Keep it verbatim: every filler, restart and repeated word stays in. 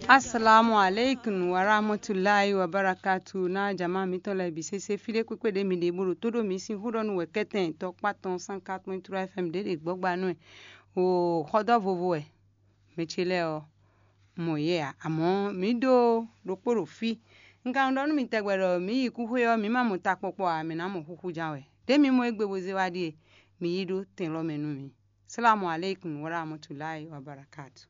Assalamu alaikum warahmatullahi wabarakatu. Na jama mitɔn lɛ bi sese fi ɖe kpekpe ɖe mi ɖe bolo to ɖo mi sin xó ɖɔ nu wɛ kɛtɛn tɔkpa tɔn san quatre point trois F M ɖe ɖe gbɔgba nú ɛ. O xɔdɔ vovo wɛ mɛ ce lɛ ɔ mɔ yɛ a, amɔ mi ɖo ɖokpo ɖo fi. Un ka ɖɔ nú mi tɛgbɛ ɖɔ mi yi kúxwé ɔ mi ma mɔ takpɔkpɔ a, mi ná mɔ xúxú ján wɛ. Ɖé mi mɔ égbé bó zé wá ɖíe, mi yi ɖó tɛn lɔ mɛ nú mi. Salamu alaikum warahmatullahi wabarakatu.